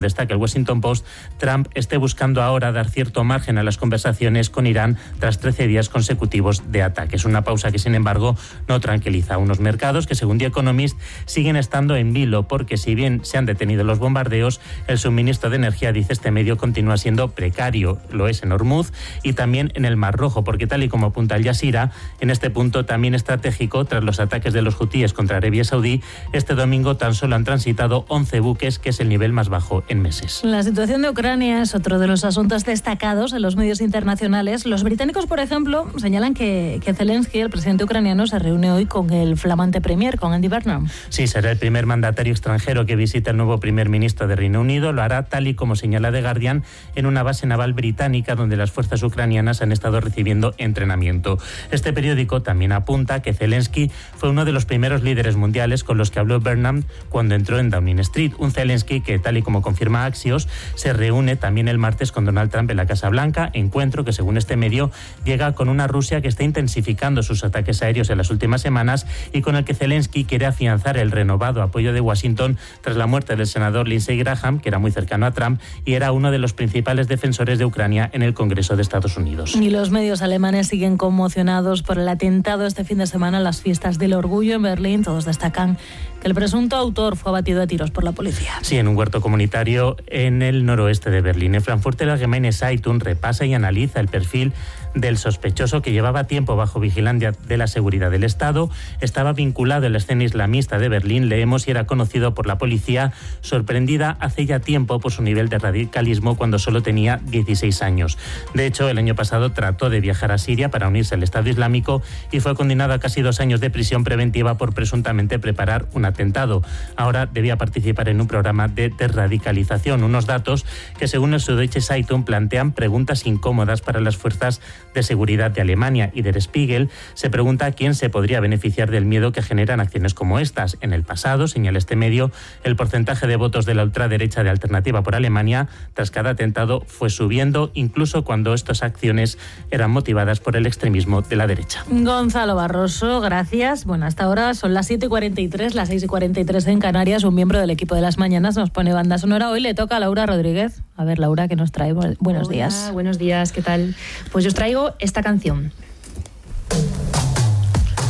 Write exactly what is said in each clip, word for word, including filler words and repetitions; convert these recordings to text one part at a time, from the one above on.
Destaca el Washington Post, Trump esté buscando ahora dar cierto margen a las conversaciones con Irán tras trece días consecutivos de ataques. Una pausa que, sin embargo, no tranquiliza a unos mercados que, según The Economist, siguen estando en vilo porque, si bien se han detenido los bombardeos, el suministro de energía, dice este medio, continúa siendo precario. Lo es en Hormuz y también en el Mar Rojo, porque, tal y como apunta Al Jazeera, en este punto también estratégico, tras los ataques de los hutíes contra Arabia Saudí, este domingo tan solo han transitado once buques, que es el nivel más bajo en meses. La situación de Ucrania es otro de los asuntos destacados en los medios internacionales. Los británicos, por ejemplo, señalan que, que Zelensky, el presidente ucraniano, se reúne hoy con el flamante premier, con Andy Burnham. Sí, será el primer mandatario extranjero que visita el nuevo primer ministro de Reino Unido. Lo hará, tal y como señala The Guardian, en una base naval británica donde las fuerzas ucranianas han estado recibiendo entrenamiento. Este periódico también apunta que Zelensky fue uno de los primeros líderes mundiales con los que habló Burnham cuando entró en Downing Street. Un Zelensky que, tal y como confirma Axios, se reúne también el martes con Donald Trump en la Casa Blanca, encuentro que, según este medio, llega con una Rusia que está intensificando sus ataques aéreos en las últimas semanas y con el que Zelensky quiere afianzar el renovado apoyo de Washington tras la muerte del senador Lindsey Graham, que era muy cercano a Trump y era uno de los principales defensores de Ucrania en el Congreso de Estados Unidos. Y los medios alemanes siguen conmocionados por el atentado este fin de semana en las fiestas del orgullo en Berlín. Todos destacan que el presunto autor fue abatido a tiros por la policía. Sí, en un huerto comunitario en el noroeste de Berlín. En Frankfurter Allgemeine Zeitung repasa y analiza el perfil del sospechoso, que llevaba tiempo bajo vigilancia de la seguridad del Estado. Estaba vinculado en la escena islamista de Berlín, leemos, y era conocido por la policía, sorprendida hace ya tiempo por su nivel de radicalismo cuando solo tenía dieciséis años. De hecho, el año pasado trató de viajar a Siria para unirse al Estado Islámico y fue condenado a casi dos años de prisión preventiva por presuntamente preparar un atentado. Ahora debía participar en un programa de desradicalización. Unos datos que, según el Süddeutsche Zeitung, plantean preguntas incómodas para las fuerzas de seguridad de Alemania. Y Der Spiegel se pregunta quién se podría beneficiar del miedo que generan acciones como estas. En el pasado, señala este medio, el porcentaje de votos de la ultraderecha de Alternativa por Alemania tras cada atentado fue subiendo, incluso cuando estas acciones eran motivadas por el extremismo de la derecha. Gonzalo Barroso, gracias. Bueno, hasta ahora son las siete y cuarenta y tres, las seis y cuarenta y tres en Canarias. Un miembro del equipo de Las Mañanas nos pone banda sonora. Hoy le toca a Laura Rodríguez. A ver, Laura, ¿qué nos trae? Buenos Hola, días. Buenos días, ¿qué tal? Pues yo os traigo esta canción.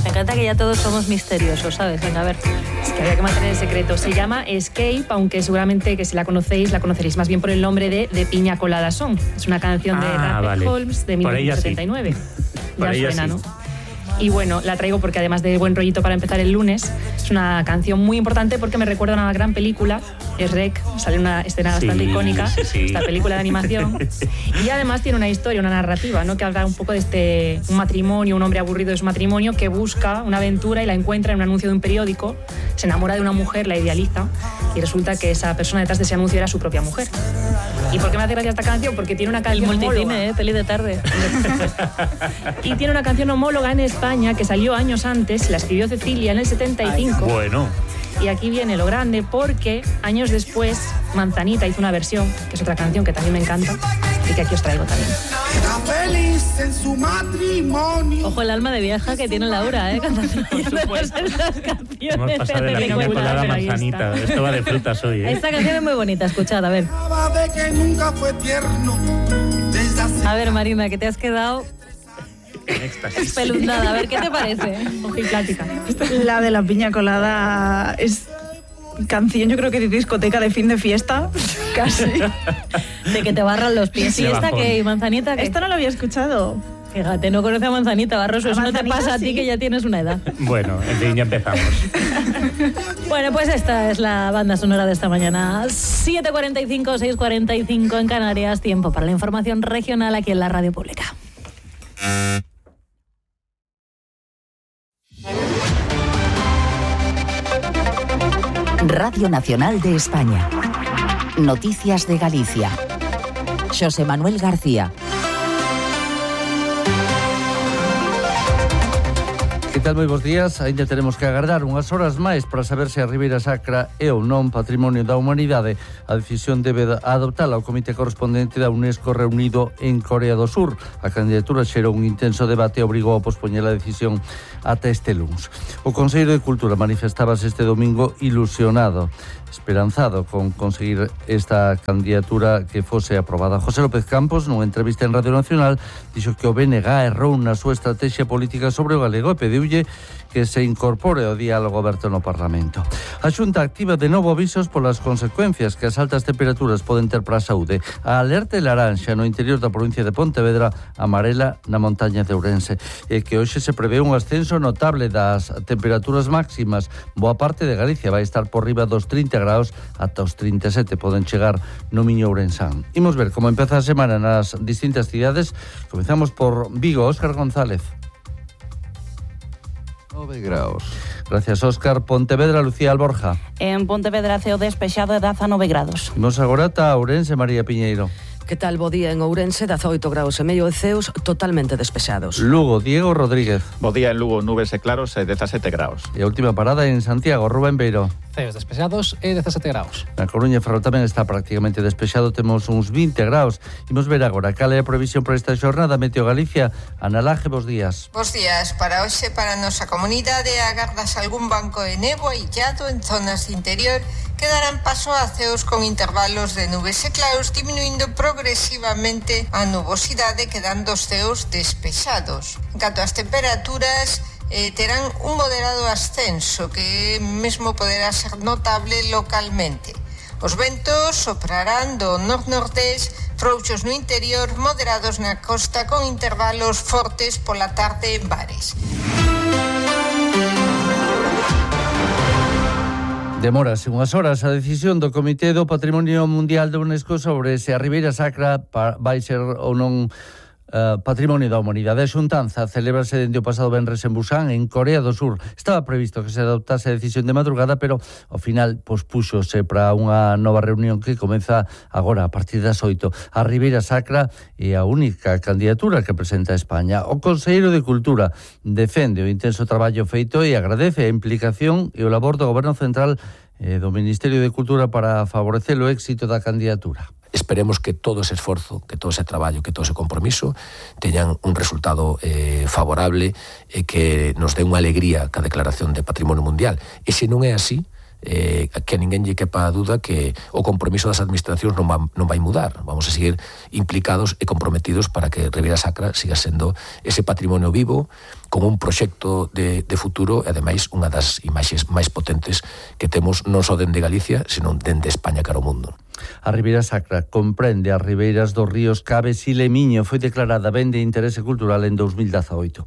Me encanta que ya todos somos misteriosos, ¿sabes? Venga, a ver. Es que había que mantener el secreto. Se llama Escape, aunque seguramente que si la conocéis, la conoceréis más bien por el nombre de De Piña Colada Song. Es una canción de ah, Rapper vale. Holmes de mil novecientos setenta y nueve. Por Ya suena, sí. ¿no? Y bueno, la traigo porque, además de buen rollito para empezar el lunes, es una canción muy importante porque me recuerda a una gran película, es Rec, sale una escena bastante sí, icónica, sí, sí. esta película de animación, y además tiene una historia, una narrativa, ¿no?, que habla un poco de este un matrimonio, un hombre aburrido de su matrimonio que busca una aventura y la encuentra en un anuncio de un periódico, se enamora de una mujer, la idealiza, y resulta que esa persona detrás de ese anuncio era su propia mujer. ¿Y por qué me hace gracia esta canción? Porque tiene una canción El multicine, homóloga. ¿eh? Peli de tarde. Y tiene una canción homóloga en España que salió años antes, la escribió Cecilia en el setenta y cinco. Bueno. Y aquí viene lo grande, porque años después Manzanita hizo una versión, que es otra canción que también me encanta y que aquí os traigo también. Feliz en su matrimonio. Ojo el alma de vieja que tiene Laura, ¿eh? Cantando esas canciones. Hemos pasado de la piña colada a manzanita. Esto va de frutas hoy, ¿eh? Esta canción es muy bonita, escuchad, a ver. De que nunca fue tierno. Desde hace A ver, Marina, que te has quedado espeluznada. A ver, ¿qué te parece? Ojo y plática. La de la piña colada es canción, yo creo que de discoteca de fin de fiesta, casi. De que te barran los pies. ¿Y De esta bajón. qué? ¿Y Manzanita qué? Esto no lo había escuchado. Fíjate, no conoce a Manzanita, Barroso. A Eso no te Manzanita pasa a ti, sí. que ya tienes una edad. Bueno, en fin, ya empezamos. Bueno, pues esta es la banda sonora de esta mañana. siete cuarenta y cinco, seis cuarenta y cinco en Canarias. Tiempo para la información regional aquí en la Radio Pública. Radio Nacional de España. Noticias de Galicia. José Manuel García. Que tal, moi bons días? Ainda teremos que agardar unhas horas máis para saber se a Ribeira Sacra é ou non Patrimonio da Humanidade. A decisión debe adoptala o comité correspondente da UNESCO reunido en Corea do Sur. A candidatura xerou un intenso debate e obrigou a pospoñer a decisión ata este luns. O Consello de Cultura manifestábase este domingo ilusionado, esperanzado con conseguir esta candidatura que fose aprobada. José López Campos, nunha entrevista en Radio Nacional, dixo que o B N G errou na súa estrategia política sobre o galego e pediulle que se incorpore ao diálogo aberto no Parlamento. A Xunta activa de novo avisos polas consecuencias que as altas temperaturas poden ter para a saúde. A alerta laranxa no interior da provincia de Pontevedra, amarela na montaña de Ourense, e que hoxe se prevé un ascenso notable das temperaturas máximas. Boa parte de Galicia vai estar por riba dos trinta graus ata os trinta e sete, poden chegar no Miño Ourensán. Imos ver como empeza a semana nas distintas cidades. Comezamos por Vigo. Óscar González. nove graus. Gracias, Óscar. Pontevedra, Lucía Alborja. En Pontevedra, ceo despexado e dezanove grados. Imos agora ata Ourense, María Piñeiro. Que tal, bo día en Ourense, dezaoito graus e medio e ceos totalmente despexados. Lugo, Diego Rodríguez. Bo día en Lugo, nubes e claros e dezasete graus. E a última parada en Santiago, Rubén Beiro. Ceos despexados e dezasete graus. Na Coruña e Ferrol tamén está prácticamente despexado, temos uns vinte graus. Imos ver agora cal é a previsión para esta xornada. Meteo Galicia, Ana Laje, bos días. Bos días. Para hoxe, para a nosa comunidade, agardas algún banco de néboa illado en zonas de interior que darán paso a ceos con intervalos de nubes e claros, diminuindo progresivamente a nubosidade, quedando os ceos despexados. En canto ás temperaturas, eh, terán un moderado ascenso que mesmo poderá ser notable localmente. Os ventos soprarán do nord-nordés, frouxos no interior, moderados na costa, con intervalos fortes pola tarde en bares. Demorase unhas horas a decisión do Comité do Patrimonio Mundial da UNESCO sobre se a Ribeira Sacra vai ser ou non uh, Patrimonio da Humanidade. A xuntanza celebrase dende o pasado venres en Busan, en Corea do Sur. Estaba previsto que se adoptase a decisión de madrugada, pero ao final pospúxose para unha nova reunión que comeza agora a partir das oito. A Ribeira Sacra é a única candidatura que presenta España. O Conselleiro de Cultura defende o intenso traballo feito e agradece a implicación e o labor do Goberno Central e do Ministerio de Cultura para favorecer o éxito da candidatura. Esperemos que todo ese esforzo, que todo ese traballo, que todo ese compromiso teñan un resultado eh, favorable e que nos dé unha alegría ca declaración de Patrimonio Mundial. E se non é así, eh, que a ninguén lle quepa a duda que o compromiso das administracións non, va, non vai mudar. Vamos a seguir implicados e comprometidos para que Ribeira Sacra siga sendo ese patrimonio vivo, con un proxecto de, de futuro e, ademais, unha das imaxes máis potentes que temos non só dende Galicia, senón dende España cara ao mundo. A Ribeira Sacra comprende as ribeiras dos ríos Caves e Lemiño. Foi declarada ben de interese cultural en dos mil dezaoito.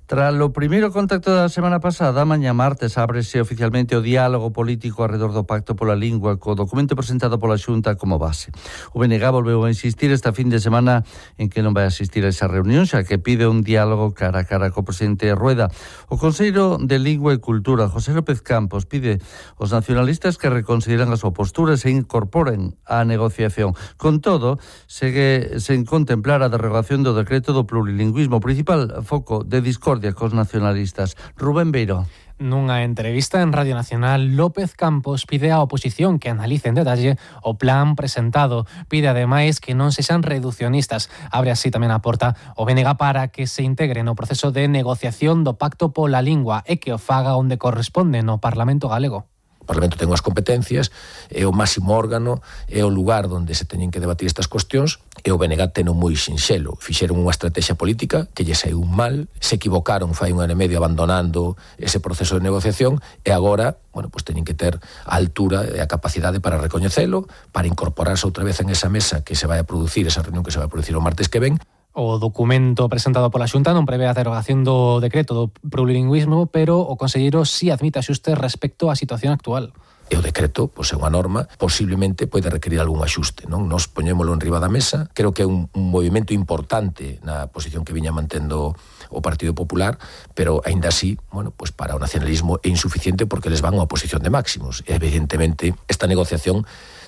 Tras o primeiro contacto da semana pasada, mañá martes ábrese oficialmente o diálogo político arredor do Pacto pola Lingua, co documento presentado pola Xunta como base. O B N G volveu a insistir esta fin de semana en que non vai asistir a esa reunión, xa que pide un diálogo cara a cara co presidente Rueda. O Conselleiro de Lingua e Cultura, José López Campos, pide aos nacionalistas que reconsideran a súa postura e se incorporen á negociación. Con todo, segue sen contemplar a derogación do decreto do plurilingüismo, principal foco de discordia cos nacionalistas. Rubén Beiro. Nunha entrevista en Radio Nacional, López Campos pide á oposición que analice en detalle o plan presentado. Pide ademais que non sexan reducionistas. Abre así tamén a porta o B N G para que se integre no proceso de negociación do Pacto pola Lingua e que o faga onde corresponde, no Parlamento galego. O Parlamento ten as competencias, é o máximo órgano, é o lugar onde se teñen que debatir estas cuestións, e o B N G ten un moi sinxelo. Fixeron unha estrategia política que lle saiu mal, se equivocaron fai un ano e medio abandonando ese proceso de negociación, e agora, bueno, pues teñen que ter a altura e a capacidade para recoñecelo, para incorporarse outra vez en esa mesa que se vai a producir, esa reunión que se vai a producir o martes que ven. O documento presentado pola Xunta non prevé a derogación do decreto do plurilingüismo, pero o conselleiro sí admite axustes respecto á situación actual. E o decreto, pois é unha norma, posiblemente pode requerir algún axuste, non? Nos poñémolo en riba da mesa. Creo que é un, un movimento importante na posición que viña mantendo o Partido Popular, pero aínda así, bueno, pois para o nacionalismo é insuficiente porque les van a posición de máximos. E evidentemente esta negociación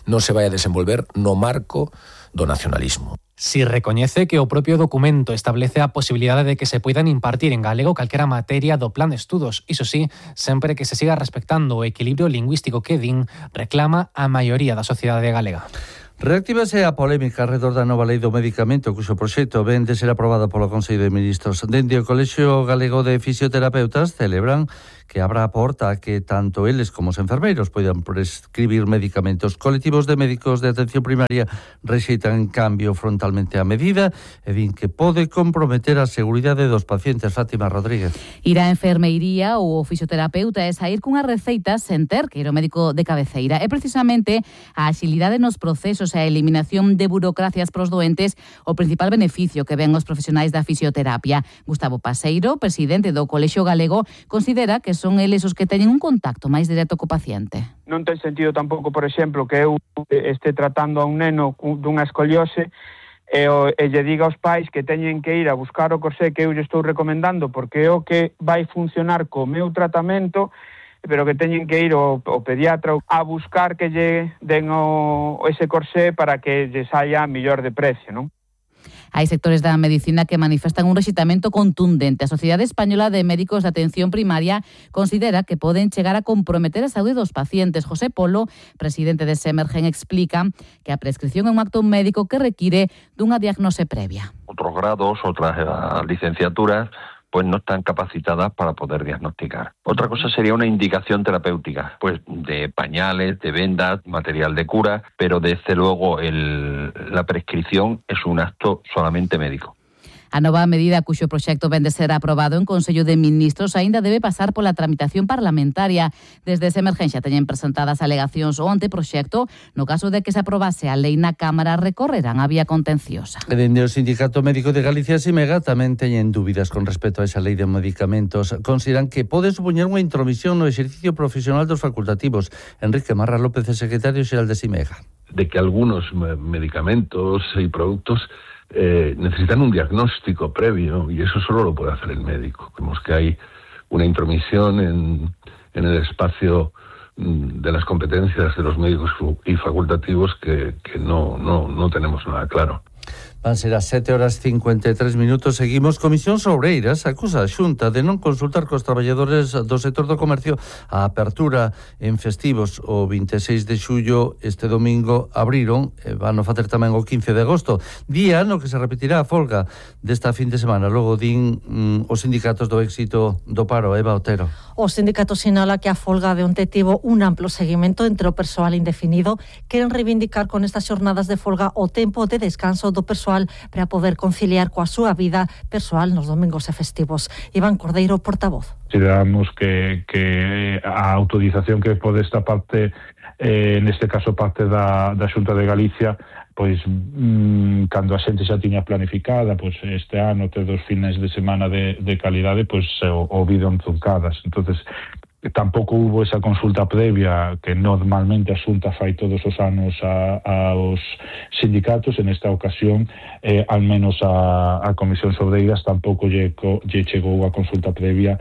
non se vai a desenvolver no marco do nacionalismo. Si recoñece que o propio documento establece a posibilidade de que se poidan impartir en galego calquera materia do plan de estudos, iso sí, sempre que se siga respectando o equilibrio lingüístico que din reclama a maioría da sociedade galega. Reactívase a polémica alrededor da nova lei do medicamento, cuxo proxecto ven de ser aprobada polo Consello de Ministros. Dende o Colexio Galego de Fisioterapeutas celebran que abra a porta a que tanto eles como os enfermeiros poidan prescribir medicamentos. Colectivos de médicos de atención primaria rexeitan en cambio frontalmente a medida e din que pode comprometer a seguridade dos pacientes. Fátima Rodríguez. Ir a enfermeiría ou fisioterapeuta é sair cunha receita sen ter que ir ao médico de cabeceira. É precisamente a axilidade nos procesos e a eliminación de burocracias pros doentes o principal beneficio que ven os profesionais da fisioterapia. Gustavo Paseiro, presidente do Colexio Galego, considera que son eles os que teñen un contacto máis directo co paciente. Non ten sentido tampouco, por exemplo, que eu este tratando a un neno dunha escoliose e, o, e lle diga aos pais que teñen que ir a buscar o corsé que eu lle estou recomendando porque é o que vai funcionar co meu tratamento, pero que teñen que ir ao, ao pediatra a buscar que lle den o, ese corsé para que lle saia mellor de precio, non? Hai sectores da medicina que manifestan un rexitamento contundente. A Sociedade Española de Médicos de Atención Primaria considera que poden chegar a comprometer a saúde dos pacientes. José Polo, presidente de Semergen, explica que a prescripción é un acto médico que require dunha diagnose previa. Otros grados, otras licenciaturas, pues no están capacitadas para poder diagnosticar. Otra cosa sería una indicación terapéutica, pues de pañales, de vendas, material de cura, pero desde luego el, la prescripción es un acto solamente médico. A nova medida cuxo proxecto ven de ser aprobado en Consello de Ministros aínda debe pasar pola tramitación parlamentaria. Desde esa emergencia teñen presentadas alegacións ao anteproxecto. No caso de que se aprobase a lei na Cámara, recorrerán a vía contenciosa. Dende o Sindicato Médico de Galicia, Simega, tamén teñen dúbidas con respecto a esa lei de medicamentos. Consideran que pode supoñer unha intromisión no exercicio profesional dos facultativos. Enrique Marra López, secretario xeral de Simega. De que algunos medicamentos y productos Eh, necesitan un diagnóstico previo y eso solo lo puede hacer el médico. Vemos que hay una intromisión en, en el espacio mm, de las competencias de los médicos y facultativos que, que no, no, no tenemos nada claro. Van ser as sete horas cincuenta e tres minutos. Seguimos. Comisións Obreiras acusa a Xunta de non consultar cos traballadores do sector do comercio a apertura en festivos. O vinte e seis de xullo, este domingo, abriron, e van a facer tamén o quince de agosto, día no que se repetirá a folga desta fin de semana. Logo din mm, os sindicatos do éxito do paro. Eva Otero. O sindicato sinala que a folga de onte tivo un amplo seguimento entre o persoal indefinido. Queren reivindicar con estas xornadas de folga o tempo de descanso do persoal para poder conciliar coa súa vida persoal nos domingos e festivos. Iván Cordeiro, portavoz. Consideramos que, que a autorización que pode esta parte, eh, neste caso parte da, da Xunta de Galicia, pois mmm, cando a xente xa tiña planificada, pois este ano ter dos fines de semana de, de calidade, pois o, o vido truncadas. Entonces, tampouco hubo esa consulta previa que normalmente a Xunta fai todos os anos a, aos sindicatos. En esta ocasión, eh, al menos a, a Comisión Obreiras tampouco lle, lle chegou a consulta previa.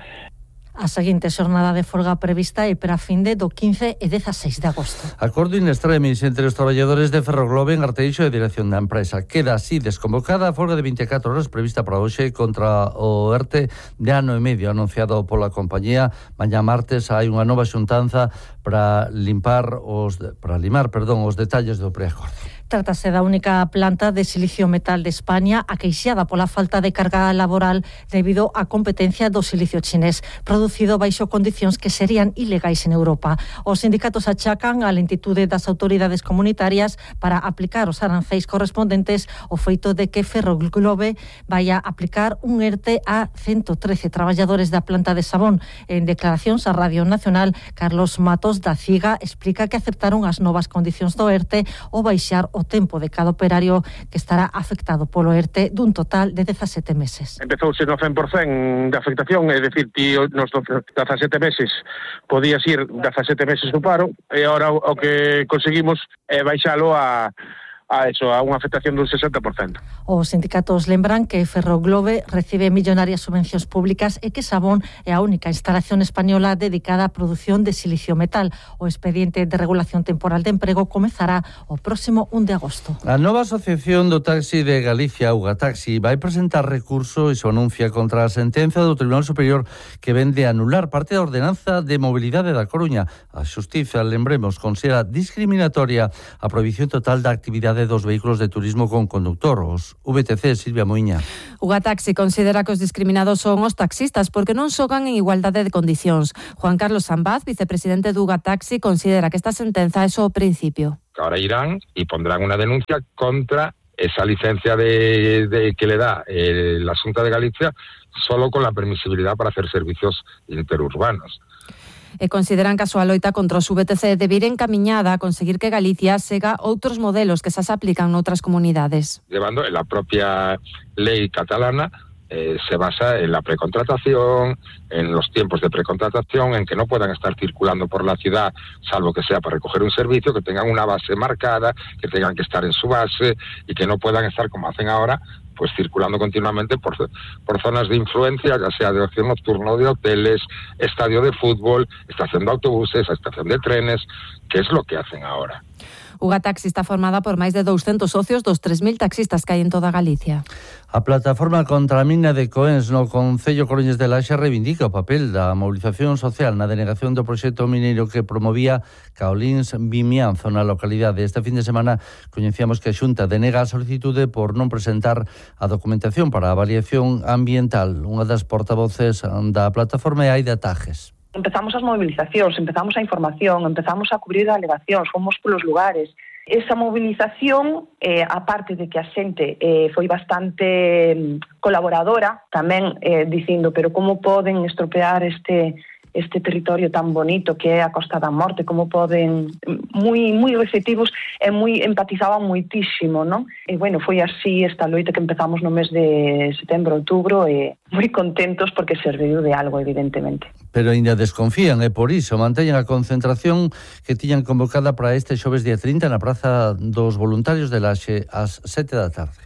A seguinte xornada de folga prevista é para a fin de do quince e dezaseis de agosto. Acordo in extremis entre os traballadores de Ferroglobe en Arteixo e a dirección da empresa. Queda así desconvocada a folga de vinte e catro horas prevista para hoxe contra o ERTE de ano e medio anunciado pola compañía. Mañá martes hai unha nova xuntanza para limpar os para limar, perdón, os detalles do preacordo. Trátase da única planta de silicio metal de España aqueixada pola falta de carga laboral debido á competencia do silicio chinés, producido baixo condicións que serían ilegais en Europa. Os sindicatos achacan a lentitude das autoridades comunitarias para aplicar os arancéis correspondentes ao feito de que Ferroglobe vai a aplicar un ERTE a ciento trece traballadores da planta de Sabón. En declaracións á Radio Nacional, Carlos Matos da CIGA explica que aceptaron as novas condicións do ERTE ao baixar o tempo de cada operario que estará afectado polo ERTE dun total de dezasete meses. Empezouse no cen por cen de afectación, é dicir, ti nos dezasete meses podías ir dezasete meses do paro e agora o que conseguimos é baixalo a a eso, a unha afectación dun sesenta por cento. Os sindicatos lembran que Ferroglobe recibe millonarias subvencións públicas e que Sabón é a única instalación española dedicada á produción de silicio metal. O expediente de regulación temporal de emprego comezará o próximo un de agosto. A nova Asociación do Taxi de Galicia, Ugataxi, vai presentar recurso e se anuncia contra a sentenza do Tribunal Superior que vende a anular parte da ordenanza de mobilidade da Coruña. A Xustiza, lembremos, considera discriminatoria a prohibición total da actividade dos vehículos de turismo con conductor, os V T C. Silvia Moiña. Ugataxi considera que os discriminados son os taxistas porque non xogan en igualdade de condicións. Juan Carlos Sambaz, vicepresidente de Ugataxi, considera que esta sentenza é só o principio. Ahora irán y pondrán una denuncia contra esa licencia de, de que le da eh, la Xunta de Galicia solo con la permisibilidad para hacer servicios interurbanos. E consideran que a súa loita contra os V T C debe ir encamiñada a conseguir que Galicia sega outros modelos que xa se aplican noutras comunidades. Llevando en la propia ley catalana eh, se basa en la precontratación, en los tiempos de precontratación, en que no puedan estar circulando por la ciudad, salvo que sea para recoger un servicio, que tengan una base marcada, que tengan que estar en su base y que no puedan estar como hacen ahora, pues circulando continuamente por, por zonas de influencia, ya sea de ocio nocturno, de hoteles, estadio de fútbol, estación de autobuses, estación de trenes, que es lo que hacen ahora. Ugataxi está formada por máis de douscentos socios dos tres mil taxistas que hai en toda Galicia. A plataforma contra a mina de Coens no Concello Coruñés de Laxe reivindica o papel da mobilización social na denegación do proxecto mineiro que promovía Caolins Vimianzo na localidade. Este fin de semana coñecíamos que a Xunta denega a solicitude por non presentar a documentación para a avaliación ambiental. Unha das portavoces da plataforma é Aida Tajes. Empezamos as movilizacións, empezamos a información, empezamos a cubrir alegacións, fomos polos lugares. Esa movilización, eh, aparte de que a xente eh, foi bastante colaboradora, tamén eh, dicindo, pero como poden estropear este este territorio tan bonito que é a Costa da Morte, como poden, moi moi receptivos e moi empatizaban moitísimo, non? E bueno, foi así esta loita que empezamos no mes de setembro, outubro, e moi contentos porque serviu de algo, evidentemente. Pero ainda desconfían e por iso manteñen a concentración que tiñan convocada para este xoves día trinta na Praza dos Voluntarios de Laxe ás sete da tarde.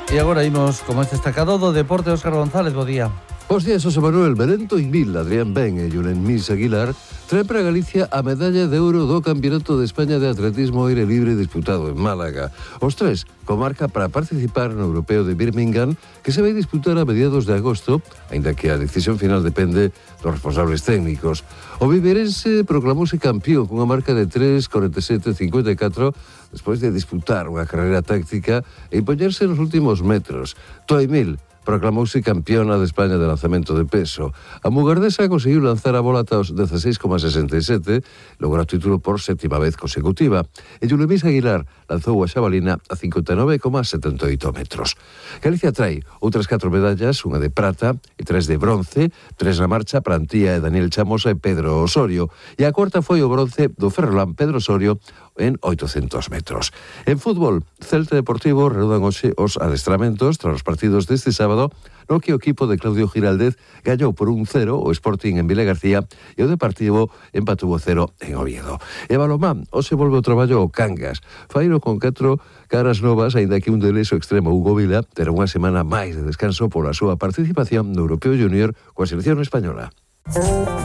E agora imos como este destacado do deporte. Óscar González, bo día. Os días, José Manuel Berento Invil, Adrián Ben e Julen Mis Aguilar traen para Galicia a medalla de ouro do Campeonato de España de Atletismo Aire Libre disputado en Málaga. Os tres comarca para participar no Europeo de Birmingham, que se vai disputar a mediados de agosto, aínda que a decisión final depende dos responsables técnicos. O viverense proclamouse campeón cunha marca de tres cuarenta e sete cincuenta e catro despois de disputar unha carreira táctica e impoñerse nos últimos metros. Toy Mil proclamouse campeona de España de lanzamento de peso. A mugardesa conseguiu lanzar a bola ata os dezaseis coma sesenta e sete, logrou o título por sétima vez consecutiva. E Julemís Aguilar lanzou a xabalina a cincuenta e nove coma setenta e oito metros. Galicia trae outras catro medallas, unha de prata e tres de bronce, tres na marcha para Antía e Daniel Chamosa e Pedro Osorio. E a cuarta foi o bronce do ferrolán Pedro Osorio en oitocentos metros. En fútbol, Celta Deportivo reanudan hoxe os adestramentos tras os partidos deste sábado, no que o equipo de Claudio Giraldez gañou por un cero o Sporting en Vila García e o Deportivo empatou cero en Oviedo. E balomán, hoxe volve o traballo ao Cangas. Faino con catro caras novas, aínda que un deles o extremo Hugo Vila terá unha semana máis de descanso pola súa participación no Europeo Junior coa selección española.